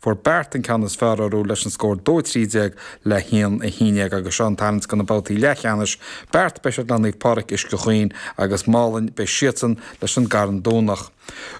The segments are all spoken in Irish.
Fuair Beart an ceann is fearr orthu leis an scór 2 13 le 1 11 agus seo an tarraingt do na babhtaí leathcheannais, Beart, beidh siad le Naomh Pádraig Uisce Chaoin agus Málainn, beidh siadsan leis an gCarn Domhnach.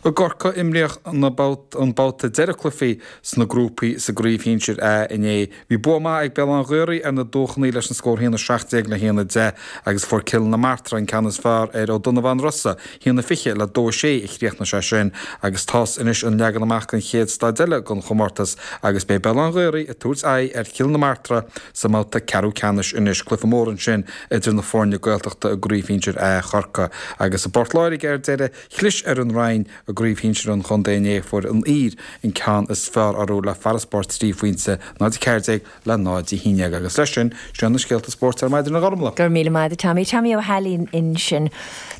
I gCorcaigh, imríodh an babhta deiridh cluichí sna grúpaí sa gCraobh Shinsir A inné. Bhí bua maith ag Béal Átha an Ghaorthaidh ar na Dúchonaidh leis an scór 1 17 le 1 10 agus fuair Cill na Martra an ceann is fearr ar Ó Donnabháin Rosa, 1 20 le 2 6 a chríochnaigh sé sin agus tá's anois an leagan amach don chéad staid eile den chomórtas agus beidh Béal Átha an Ghaorthaidh ag tabhairt aghaidh ar Chill na Martra sa mbabhta ceathrú ceannais anois. Cluiche mór ansin idir na foirne Gaeltachta i gCraobh Shinsir A Chorcaí agus i bPort Láirge ar deireadh, chlis ar an Rinn i gCraobh Shinsir an chontae inné. Fuair an Aoir an ceann is fearr orthu le farasbarr 3 phointe, 0 14 le 0 11 agus leis sin, sin na scéalta spóirt ar maidin a Ghormlaith. Go raibh míle maith agat Tommy. Tommy Ó hAilín ansin.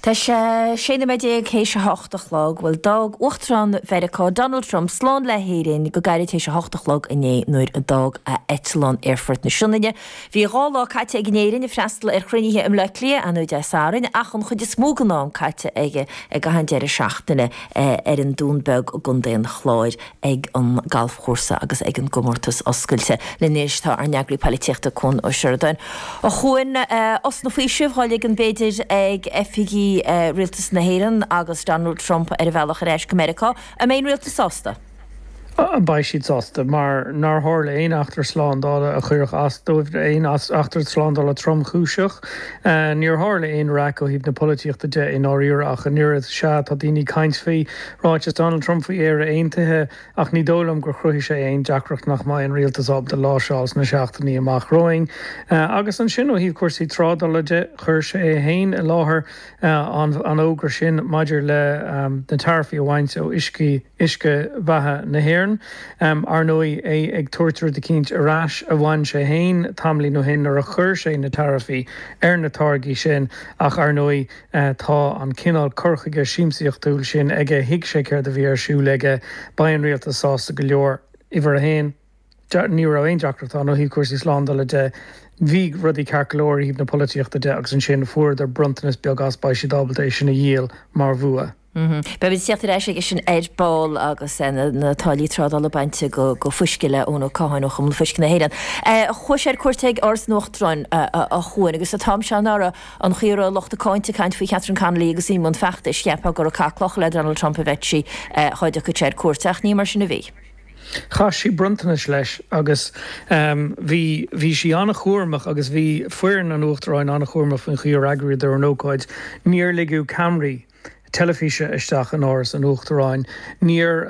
Tá sé 16 nóiméad théis a hocht a chlog. Bhuel, d'fhág Uachtarán Mheiriceá, Donald Trump, slán le hÉirinn go gairid théis a hocht a chlog inné nuair a d'fhág a eitleán Aerfort na Sionainne. Bhí 2 lá caite aige in Éirinn ag freastal ar chruinnithe i mBleá Cliath anuraidh Dé Sathairn ach an chuid is mó den am caite aige i gcaitheamh an deireadh seachtaine ar an Dún Beag i gContae an Chláir ag an galfchúrsa agus ag an gcomórtas oscailte. Linn anois tá ár n-eagraí poilitíochta Cuan Ó Seireadáin. A Chuain, osna faoisimh dhá ligean b'fhéidir ag oifigigh Rialtas na hÉireann agus Donald Trump ar a bhealach ar ais go Meiriceá. An mbeidh an rialtas sásta? Beidh siad sásta, mar nár tharla aon eachtra slándála a chuirfeadh as dóibh, aon eachtra slándála tromchúiseach. Níor tharla aon raic ó thaobh na polaitíochta de i ndáiríre ach an oiread. Sea, tá daoine ag caint faoi ráiteas Donald Trump faoi Éire Aontaithe, ach ní dóigh liom gur chruthaigh sé aon deacracht nach mbeidh an rialtas ábalta láimhseáil sna seachtainí amach romhainn. Agus ansin ó thaobh cúrsaí trádála de, chuir sé é féin i láthair an fhógra sin maidir le na taraifí a bhaint ó uiscí uisce beatha na hÉireann. Ar ndóigh, é ag tabhairt rud eicínt ar ais a bhain sé féin tamaillín ó shin nuair a chuir sé na taraifí ar na táirgí sin ach ar ndóigh tá an cineál cur chuige siamsaíochtúil sin aige, thuig sé céard a bhí ar siúl aige. Beidh an rialtas sásta go leor. Uimhir a haon, ní raibh aon deacracht ann ó thaobh cúrsaí slándála de. Bhí rudaí ceart go leor ó thaobh na polaitíochta de agus ansin fuaireadar bronntanas beag as, beidh siad ábalta é sin a dhíol mar bhua. Beimid ag teacht ar ais aige sin ar ball agus na táillí trádála bainte de fuisce le Eoin Ó Catháin ó Chumann Fuisce na hÉireann. Chuaigh sé ar cuairt ag Áras an Uachtaráin, a Chuain, agus an t-am seo anuraidh, an chaoi a raibh lucht a cáinte ag caint faoi Chatherine Connolly agus í i mbun feachtais, cheapfá gur ag caitheamh clocha le Donald Trump a bheadh sí dhá dtiocfadh sé ar cuairt, ach ní mar sin a bhí. Chaith sí bronntanais leis agus bhí, bhí sí an-chúramach agus bhí foireann an Uachtaráin an-chúramach faoin chaoi ar eagraíodar an ócáid. Níor ligeadh ceamaraí teilifíse isteach in Áras an Uachtaráin. Níor,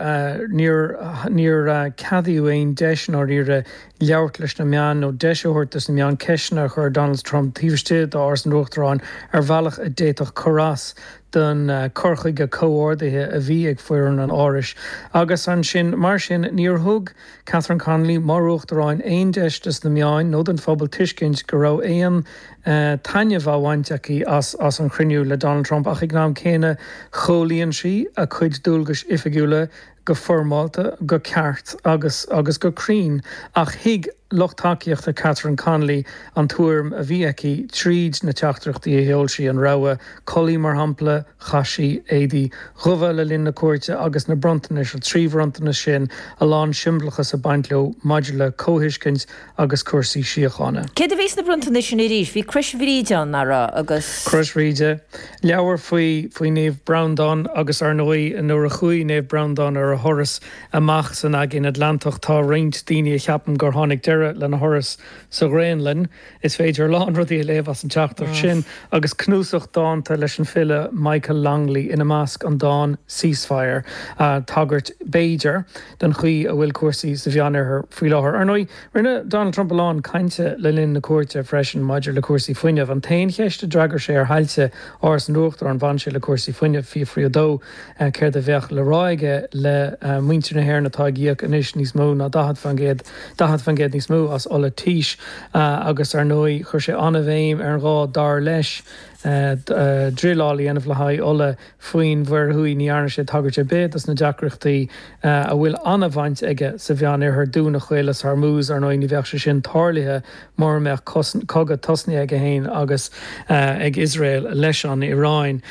níor, níor ceadaíodh aon deis i ndáiríre labhairt leis na meáin nó deis a thabhairt dos na meáin ceisteanna a chur ar Donald Trump taobh istigh d'Áras an Uachtaráin ar bhealach a d'fhéadfadh cur as don chur chuige comhordaithe a bhí ag foireann an Árais. Agus ansin, mar sin, níor thug Catherine Connolly, mar Uachtarán, aon deis dos na meáin nó don phobal tuiscint go raibh aon taitneamh á bhaint aici as as an chruinniú le Donald Trump ach ag an am céanna chomhlíon sí a cuid dualgais oifigiúla go foirmeálta, go ceart agus agus go cruinn. Ach thuig lucht tacaíochta Catherine Connolly an tuairim a bhí aici tríd na teachtaireachtaí a sheol sí, an rogha culaith mar shampla, chaith sí éadaí dhubha le linn na cuairte agus na bronntanais, an trí bhronntanas sin, a lán siombalachas ag baint leo maidir le comhthuiscint agus cúrsaí síochána. Céard a bhí sna bronntanais sin arís? Bhí Crois Bhríde ann, nach raibh, agus. Crois Bhríde, leabhar faoi faoi Naomh Breandán agus ar ndóigh nuair a chuaigh Naomh Breandán ar a thuras amach san Aigéan Atlantach tá roinnt daoine a cheapann gur tháinig deireadh lena thuras sa Ghraonlainn. Is féidir a lán rudaí a léamh as an teachtaireacht sin agus cnuasach dánta leis an file Michael Longley ina measc, an dán 'Ceasefire', tagairt, b'fhéidir, don chaoi a bhfuil cúrsaí sa Mheánoirthear faoi láthair. Ar ndóigh, rinne Donald Trump a lán cainte le linn na cuairte freisin maidir le cúrsaí fuinnimh. An t-aon cheist a d'fhreagair sé ar thailte Áras an Uachtaráin, bhain sé le cúrsaí fuinnimh. Fiafraíodh dó céard a bheadh le rá aige le muintir na hÉireann atá ag íoc anois níos mó ná 40%, 40% níos mó as ola tís agus ar ndóigh chuir sé an-bhéim ar an ghá, dar leis, druileáil a dhéanamh le haghaidh ola faoin Mhuir Thuaidh. Ní dhearna sé tagairt ar bith dos na deacrachtaí a bhfuil an-bhaint aige sa Mheánoirthear, dúnadh Chaolas Hormuz, ar ndóigh ní bheadh sé sin tarlaithe mura mbeadh cogadh tosnaithe aige féin agus ag Iosrael leis an Iaráin.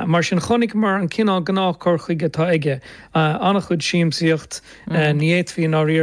Mar sin chonaiceamar an cineál gnáth cur chuige atá aige, an-chuid siamsaíocht, ní fhéadfaí i ndáiríre.